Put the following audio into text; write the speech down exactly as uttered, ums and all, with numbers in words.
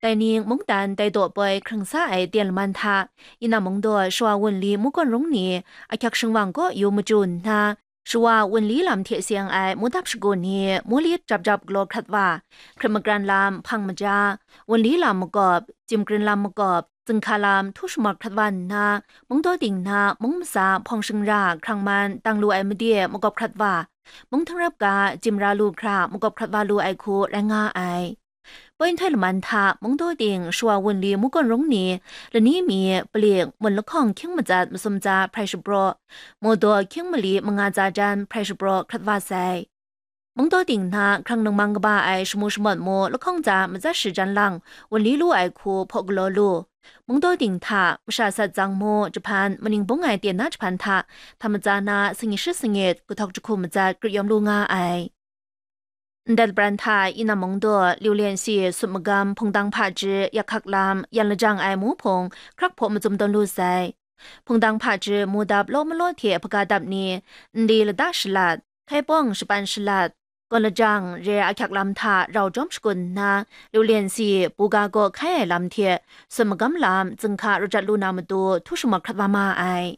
Dai ning mungdan dai daw poi hkrang sa ai ten laman hta, Yinam Mungdaw shawa wunli mungkawn rung ni ahkyak shingwang kaw yu machyu nna, shawa wunli lam hte seng ai mudap shagu ni mulit jap jap galaw hkrat wa, hkrit magran lam hpang maja, wunli lam makawp, chyim krin lam makawp, zinghka lam htu shamak hkrat wa nna, mungdaw ting na mung matsa hpawng shingra hkrang man dang lu ai made makawp hkrat wa, mung htingrap ga jimra lu hkra makawp hkrat wa lu ai hku rai nga ai. Poi nhtoi laman hta mungdaw ting shawa wunli mungkawn rung ni lani mi palik mun lahkawng hkying matsat masum tsa hprai shapraw, mawdaw hkying mali manga tsa jan hprai shapraw hkrat wa sai. Mungdaw ting hta hkrang ningmang kaba ai shamu shamawt mu lahkawng tsa matsat shi jan lang wunli lu ai hku hpaw galaw lu. Mungdaw ting hta masha sat tsang mu, jahpan maning bung ai ten na jahpan hta hta matsa na sangyi shi sangit kahtawk jahku matsat grit yawm lu nga ai. Ndai labran hta Yinam Mungdaw, Liu Lian Si, Sut Magam, Hpungdang Hpaji, Yak Hkak Lam, yan lajang ai mu hpung hkrak hpaw macum tawn lu sai. Hpungdang Hpaji mudap law malaw hte hpaga dap ni, nli lada shalat, hkaipawng shapan shalat, gawn lajang re ahkyak lam hta rau jawm shakun nna, Liu Lian Si, buga kaw hkai ai lam hte Sut Magam lam zinghka rajat lu na matu htu shamak hkrat wa ma ai.